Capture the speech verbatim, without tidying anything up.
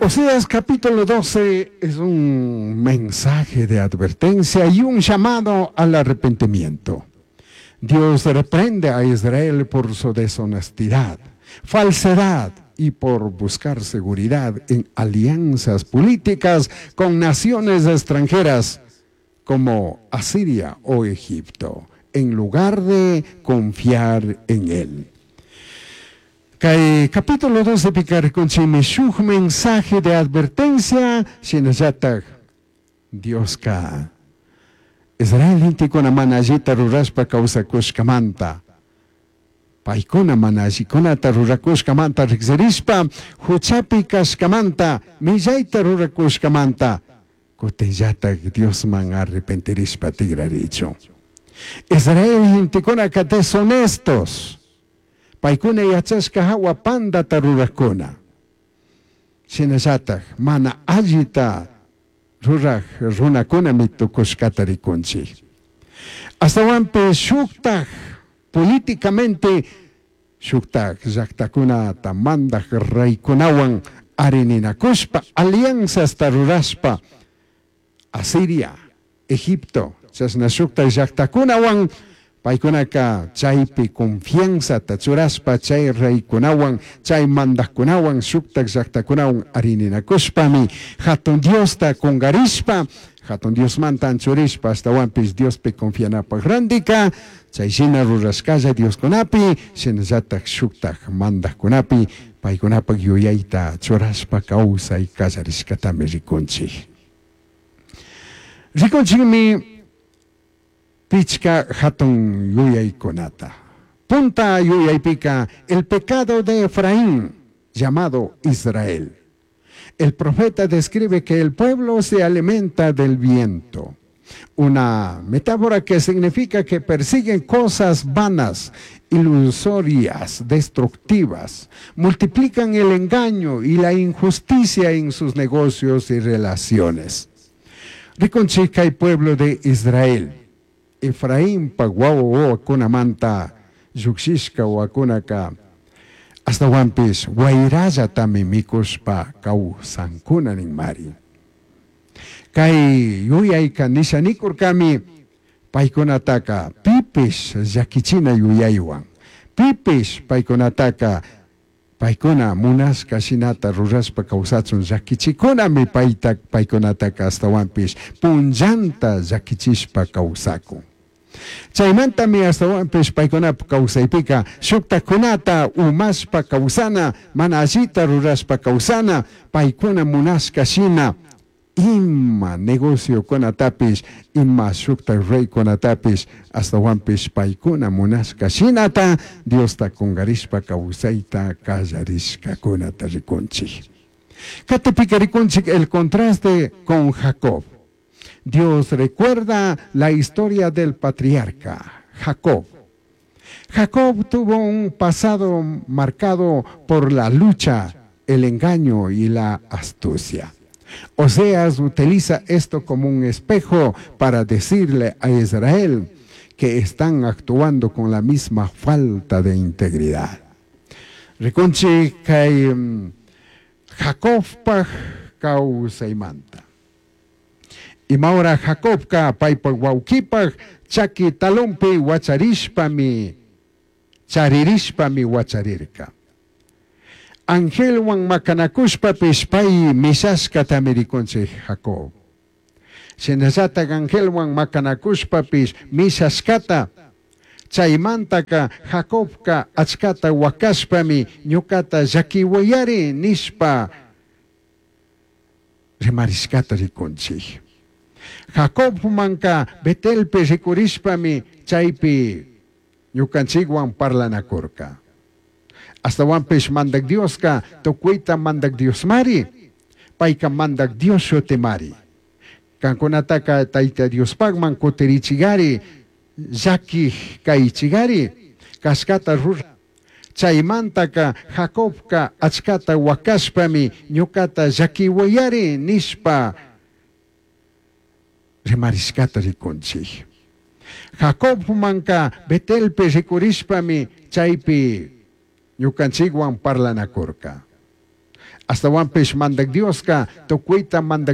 Oseas capítulo doce es un mensaje de advertencia y un llamado al arrepentimiento. Dios reprende a Israel por su deshonestidad, falsedad y por buscar seguridad en alianzas políticas con naciones extranjeras como Asiria o Egipto, en lugar de confiar en él. Kay capítulo doce pika rikunchikmi shuk mensaje de advertencia, shinallatak Dioska Israel gentekuna mana allita rurashpa kawsakushkamanta, paykuna mana allikunata rurakushkamanta riksirishpa, huchapi kashkamanta, millayta rurakushkamanta, kutinllatak Diosman arrepentirishpa tigrarichun. Israel gentekunaka deshonestos, paykuna yachashka hawa pandata rurakuna. Shinallatak mana allita ruraj runakunami tukushkata rikunchik. Ashtawanpish shuktak políticamente shuktak llaktakunata mandak reykunawan arininakushpa alianzasta rurashpa Asiria, Egipto, chashna shuktak llaktakunawan paykunaka chaypi confianzata churashpa chay reykunawan chay mandakkunawan shuktak llaktakunawan arininakushpami hatun Diosta kungarishpa hatun Diosmanta anchurishpa ashtawanpish Diospi confianapaj randika chay shina rurashkalla Dioskunapi shinallatak shuktak mandakkunapi paykunapak yuyayta churashpa kawsay kallarishkatami rikunchik. Rikunchikmi pichka hatun yuyaykunata. Punta yuyaypika el pecado de Efraín, llamado Israel. El profeta describe que el pueblo se alimenta del viento. Una metáfora que significa que persiguen cosas vanas, ilusorias, destructivas. Multiplican el engaño y la injusticia en sus negocios y relaciones. Rikunchik kay pueblo de Israel. Efraín pa wawa wawakunamanta llukshishka wawakunaka ashtawanpish wayrallatami mikushpa kawsankuna ninmari. Kay yuyayka nisha nikurkami paykunataka pipish llakichina yuyaywan, pipish paykunataka paykuna munashka shinata rurashpa kawsachun llakichikunami payta paykunataka ashtawanpish punllanta llakichishpa kawsakun. Chaymantami ashtawanpish paykunapa kawsaypika shuktakunata umashpa kawsana, mana allita rurashpa kawsana, paykuna munashka shina ima negociokunatapish, ima shukta reykunatapish, ashtawanpish paykuna munashka shinata Diosta kungarishpa kawsayta kallarishkakunata rikunchik. Katipika rikunchik el contraste con Jacob. Dios recuerda la historia del patriarca Jacob. Jacob tuvo un pasado marcado por la lucha, el engaño y la astucia. Oseas utiliza esto como un espejo para decirle a Israel que están actuando con la misma falta de integridad. Rikunchik kay Jacobpaj kawsaymanta. Imaura Jacobka paypak wawkipaj chaki talonpi wacharishpami charirishpami wacharirka. Angelwan makanakushpapish pay mishashkatami rikunchik Jacob. Shinallatak angelwan makanakushpapish mishashkata chaymantaka Jacobka achkata wakashpami ñukata llakiwayari nishpa rimarishkata rikunchik. Jacobmanka Betelpi rikurishpami chaypi ñukanchikwan parlanakurka. Ashtawanpish mandak Dioska tukuyta mandak Diosmari, payka mandak Dios shutimari. Kankunataka Tayta Diospakman kutirichigari, llakij kaychigari, kashkata rura. Chaymantaka Jacobka achkata wakashpami ñukata llakiwayari nishpa rimarishkata rikunchik. Jacobmanka Betelpi rikurishpami chaypi ñukanchikwan parlanakurka. Ashtahuanpish Mandaj Diosca tucuita Mandaj